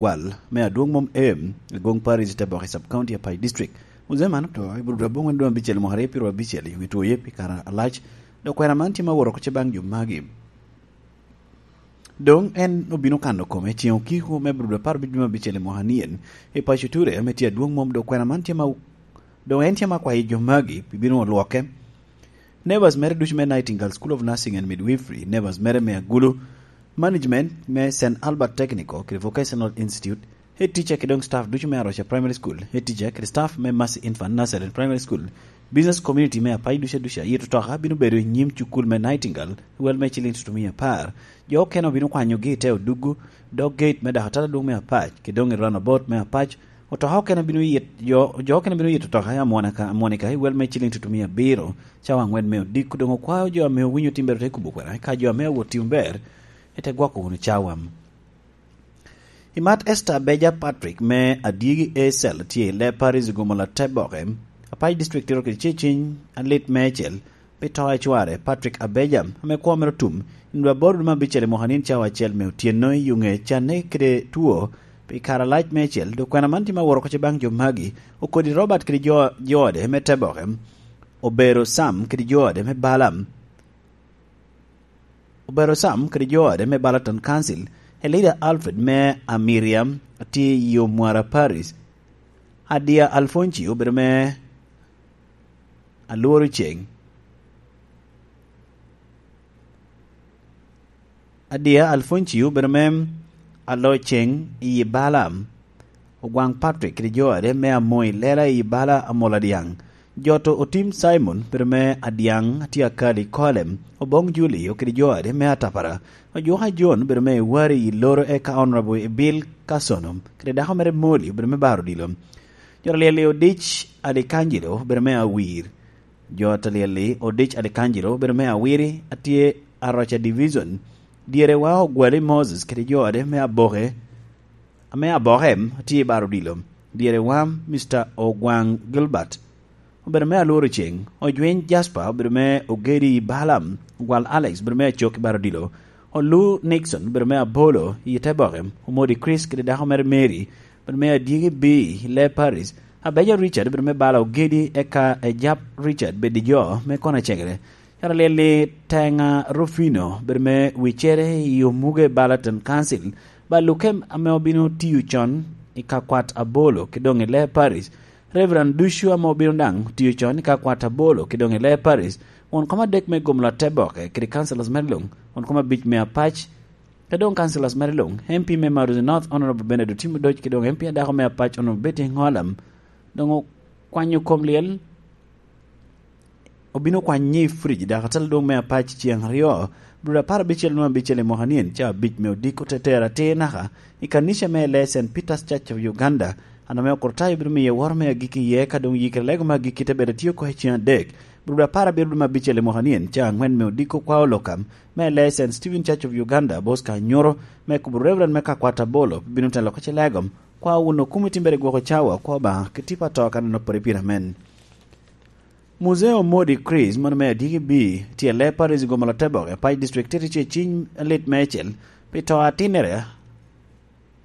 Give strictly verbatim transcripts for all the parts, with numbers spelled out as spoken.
Gwal me Adwoŋ Mom Em, Agong Parish, Teboke Sub County, Apac District. Muzee man oto i Bulodo aboŋwen dwe abicel mwaka aryo pyeraryo abicel i wi twoye pi kare alac, dok kwena man tye ma woro oko ce baŋ jo magi. Doŋ en obino kano kome ceŋ okiko me Bulodo apar abic dwe me abicel i mwaka nien i paco Ture ame tye Adwoŋ Mom, dok kwena man tye ma, doŋ en tye ma kwayo jo magi pi bino olwoke. Neighbors mere ducu me Nightingale School of Nursing and Midwifery, neighbors mere me Agulu, management me Saint Albert Technical kede Vocational Institute, head teacher kede doŋ staff ducu me Aroca Primary School, head teacher kede staff me Mercy Infant Nursery and Primary School, business community me Apac ducu aduca, yito toka bino bedo i nyim cukul me Nightingale, wel me ciliŋ tutumia apar. Jo okene obino kwanyogi i te oduggu, dog gate me dakatala adwoŋ me Apac, kede doŋ i roundabout me Apac, otoka okene bino yit, jo, jo okene bino yito toka i Amwonika, Amwonika i wel me ciliŋ tutumia abiro, cawa aŋwen me odiko. Doŋ okwao jo ame owinyo timbere te kubo kwena, ka jo ame awot timo ber, ete gwoko wunu cawa. I mat Esther Abeja Patrick me Adyegi A Cell tye i Lee Parish i Gomola Teboke, Apac District tito kede ceciny alit meicel pi to a cware, Patrick Abeja, ame kwo mere otum i nino aboro dwe me abicel i mwaka nino cawa acel me otyeno i Yuŋe, canne kede two pi kare alac meicel, dok kwena man tye ma woro oko ce baŋ jo magi, okodi Robert kede jo, jo ode me Teboke, Obero Sam kede jo ode me Balaam, Obero Sam kede jo ode me Balaton Council, Elida Alfred me Amiria, atye i Omwara Parish, Adia Alfonsi obedo me Alworo Ceng, Adia Alfonsi obedo me Alo Ceng i Balaam, Ogwaŋ Patrick kede jo ade me Amoy Lela i Bala Amol Adyaŋ, Joto Otim Simon obedo me Adyaŋ, atye akal i Kolem, Oboŋ Julio kede jo ade me Atapara, Ojuka John obedo me Iwari i Loro, eka Honorable Ebil Kasono kede dako mere Moli obedo me Baro Odilo. Jo Alyel-li Odic Alikanjilo obedo me Awir. Jo Alyel-li Odic Alikanjilo obedo me Awiri, atye Aroca Division. Dyerewa Ogwali Moses kede jo ade me Aboke, ame Aboke, atye i Baro Odilo. Dyerewa Mister Ogwaŋ Gilbert obedo me Alworo Ceng, Ojwiny Jasper obedo me Ogedi i Balaam, Ogwal Alex obedo me Acok i Baro Odilo, Olu Nixon obedo me Abolo i Teboke, Omodi Chris kede dako mere Mary obedo me Adyegi B i Lee Parish, Abeja Richard obedo me Bala Ogedi, eka Ejap Richard Bedijo me Kona Cegere. Yara Lyel-li Tenga Rufino obedo me Wicere i Omuge Balaton Council, Baluke ame obino tiyo con i Kakwat Abolo kede doŋ i Lee Parish, Reverend ducu ame obino daŋ tiyo con i Kakwat Abolo kede doŋ i Lee Parish, won kom adek me Gomola Teboke kede councillors mere luŋ, won kom abic me Apac, kede doŋ councillors mere luŋ, M P me Maruzi North, Honorable Bernard Otim Odoc, kede doŋ M P adako me Apac, Honorable Betty Ŋolam, doŋ okwanyo kom lyel, obino kwanyo i fridge, dakatala adwoŋ me Apac ceŋ aryo, Bulodo apar abicel nwoŋo abicel i mwaka nien, ca abic me odiko te tero atir naka i kanica me Lee Saint Peter's Church of Uganda, an ame okurtayo bino miye woro me agikki iye, ka doŋ yikere lego me agikki te bedo atye oko i ceŋ adek, Bulodo apar abiro dwe me abicel i mwaka nien, ca aŋwen me odiko kwa olokam me Lee Saint Stephen Church of Uganda, Bosco Anyoro, me kubo Reverend me Kakwat Abolo, bino telo oko ce legom, kwa wun okumo itimbere gwoko cawa, kwa Obaŋa, ki tipo ato ka neno pore pire amen. Muzee Omodi Chris, mano me Adyegi B, tye Lee Parish i Gomola Teboke, Apac District, tito ce ciny alit meicel pi to atinnere,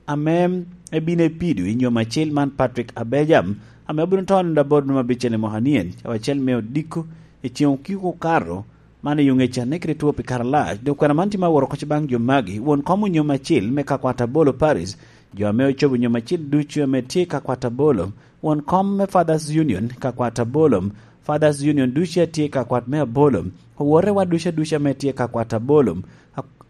ame ebino epido i nyom acil man, Patrick Abejam, ame obino to nino aboro dwe me abicel i mwaka nien, cawa acel me odiko, i ceŋ okiko okato, man i yo ŋec anne kede two pi kare alac. Dok kwena man tye ma woro oko ce baŋ jo magi, won kom onyom acil me Kakwat Abolo Parish, jo ame ocobo nyom acil ducu ame tye i Kakwat Abolo, won kom me Fathers Union Kakwat Abolo, Fathers Union ducu a tye i Kakwat me Abolo, owotewa ducu aduca ame tye i Kakwat Abolo, ak-,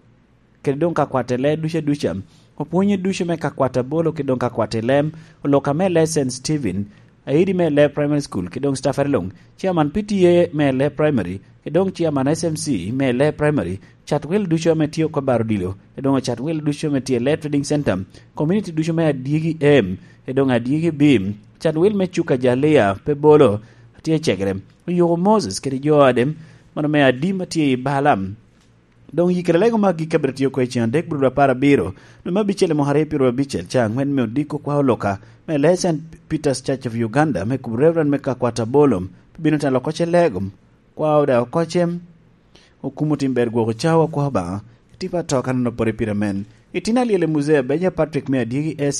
kede doŋ Kakwat Elee ducu aduca, opwonye ducu me Kakwat Abolo kede doŋ Kakwat Elem, oloka me Lee Saint Stephen, aidi me Lee Primary School kede doŋ staffere luŋ, chairman P T A me Lee Primary, kede doŋ chairman S M C me Lee Primary, cat wil ducu ame tye oko Baro Odilo, kede doŋ cat wil ducu ame tye Lee Trading Center, community ducu me Adyegi M, kede doŋ Adyegi B, cat wil me Cuka Jalia pe bolo, tye cegere, Oyuko Moses kede jo ade, mano me Adim atye i Balaam. Doŋ yikere lego me agikki abiro tye oko i ceŋ adek Bulodo apar abiro, dwe me abicel i mwaka aryo pyeraryo abicel, ca aŋwen me odiko kwa oloka, me Lee Saint Peter's Church of Uganda, me kubo Reverend me Kakwat Abolom, pe bino telo oko ce legom, kwa oda oko ce, okumo tim ber gwoko cawa kwa Obaŋa, i tipo ato ka neno pore pire amen, Itino alyel i Muzee Abeja Patrick me Adyegi S.